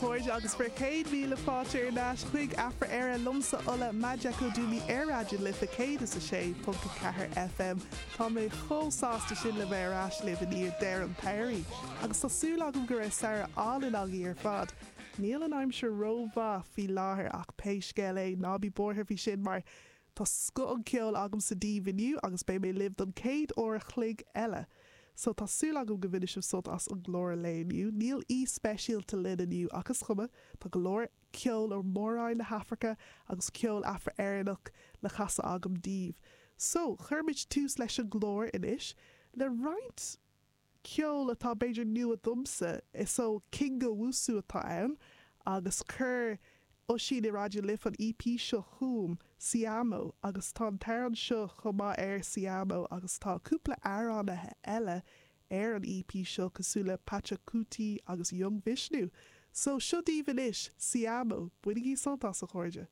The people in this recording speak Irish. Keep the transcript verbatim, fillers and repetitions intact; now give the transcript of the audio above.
chairde agus bhur gcéad míle fáilte ar ais chuig Afra Éire liomsa Ola Majekodunmi ar Raidió na Life céad is a sé ponc a ceathair FM. Tá mé chomh sásta sin le bheith ar ais libh i ndiaidh deireadh an tsamhraidh, agus tá súil agam go raibh samhradh álainn agaibh ar fad. Níl an aimsir rómhaith faoi láthair ach pé scéal é ná bí buartha faoi sin mar tá scoth an ceol agamsa daoibh inniu agus beidh mé libh don céad uair a chloig eile. So tá súil agam go mbainfidh sibh sult as an gclár lae inniu. Níl aoi speisialta linn inniu ach is cuma tá go leor ceol ó mhór-roinn na hAfraice agus ceol Afra-Éireannach le casadh agam daoibh. So cuirfimid tús leis an gclár anois le roinnt ceol atá b'fhéidir nua domsa is so King Owusu atá ann agus chuir Oisín i Raidió na Life an EP seo chugam Siamo agus tá an t-amhrán seo chomh maith ar Siamo agus tá cúpla amhránaithe eile ar an EP seo cosúil le Pachacuti agus Young Vishnu. So seo daoibh anois Siamo, bainigí sult as a chairde.